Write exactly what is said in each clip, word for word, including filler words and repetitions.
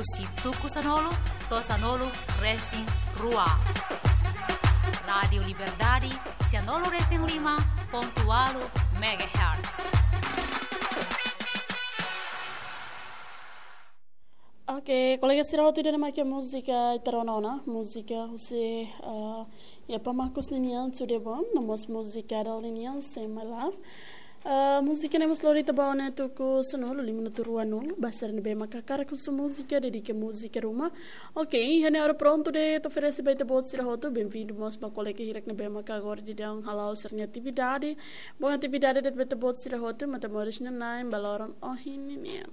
Husi tuku sanulu to'o sanulu resin rua. Rádiu Liberdade, sanulu resin lima pontu ualu megahertz. Oke, kolega sira hotu, ida-ne'e mak múzika ita rona ona, múzika husi, eh, Yapa Marcus ninian, Tudo Bom, no mós múzika Adele ninian, Say My Love. Eh, múzika ne'e mós lori ita ba ona tuku sanulu lima minutu ruanulu, ba sira ne'ebé mak hakarak husu múzika, dedika múzika ruma. Oke, iha ne'e ha'u prontu de'it atu oferese ba ita-boot sira hotu, benvindu mós ba kolega hirak ne'ebé mak agora daudaun hala'o sira-nia atividade. Bom atividade de'it ba ita-boot sira hotu, maibé moris nanain ba loron ohin ninian.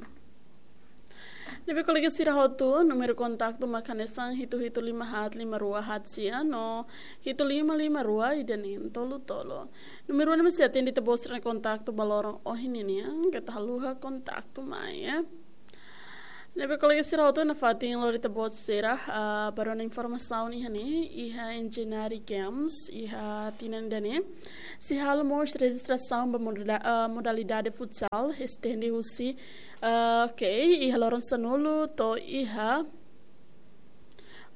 Ne'ebé kolega sira hotu, númeru kontaktu mak hanesan hitu hitu lima haat lima rua haat sia no hitu lima lima rua ida neen tolu tolu. Númeru ne'e mós sei atende ita-boot sira-nia kontaktu ba loron ohin ninian, keta haluha kontaktu mai, eh. Ne'ebé kolega sira hotu, nafatin lori ita-boot sira, ah, ba rona informasaun iha ne'e, iha Engenharia Games, iha tinan ida-ne'e sei halo mós rejistrasaun ba modala-, ah, modalidade futsal, estende husi, ah, oke, iha loron sanulu to'o iha,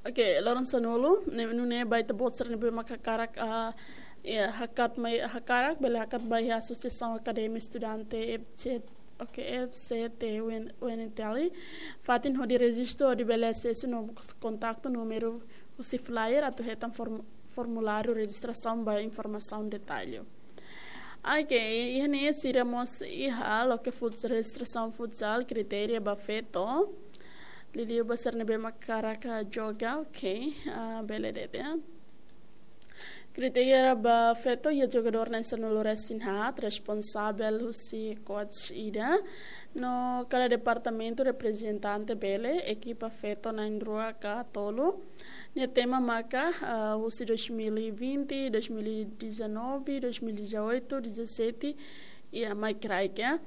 oke, loron sanulu, ne'e, nune'e ba ita-boot sira ne'ebé mak hakarak, ah, ya, hakat mai, hakarak, bele hakat ba iha Asosiasaun Akademia Estudante F C, oke, F C T U N, U N T L. Fatin hodi rejistu, hodi bele asesu no kontaktu númeru husi flyer atu hetan form-, formuláriu rejistrasaun ba informasaun detalle. Oke, iha ne'e sira mós iha loke futs-, rejistrasaun futsal, kritéria ba feto. Liuliu ba sira ne'ebé mak hakarak joga, oke, ah, bele de'it, ya. Kritéria ba feto iha jogadór na'in sanulu resin haat, responsavel husi coach ida. No kada departamentu reprezentante bele, ekipa feto na'in rua ka tolu. Nia tema maka, ah, husi dois mil e vinte, dois mil e dezanove, dois mil e dezoito, dezassete, iha mai kraik, ya.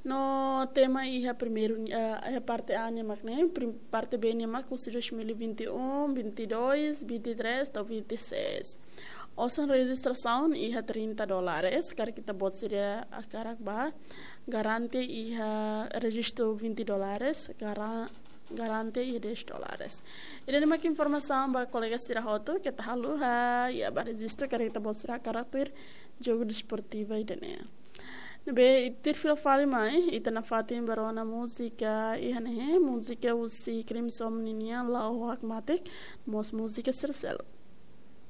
No tema iha primeiru, eh, iha parte A nian mak ne'e, prim-, parte B nian mak husi dois mil e vinte e um, vinte e dois, vinte e três to'o vinte e seis. Osan rejistrasaun iha trinta dólares, karik ita-boot sira hakarak bá, garante iha rejistu vinte dólares, gara-, garante iha dez dólares. Ida-ne'e mak informasaun ba kolega sira hotu, keta haluha, ya, bá rejistu karik ita-boot sira hakarak tuir jogu desportivu ida-ne'e. Ne'ebé tuir fila fali mai, ita nafatin bá rona múzika iha ne'e, múzika husi Crimson ninian, La'o Hakmatek, mós múzika sira seluk.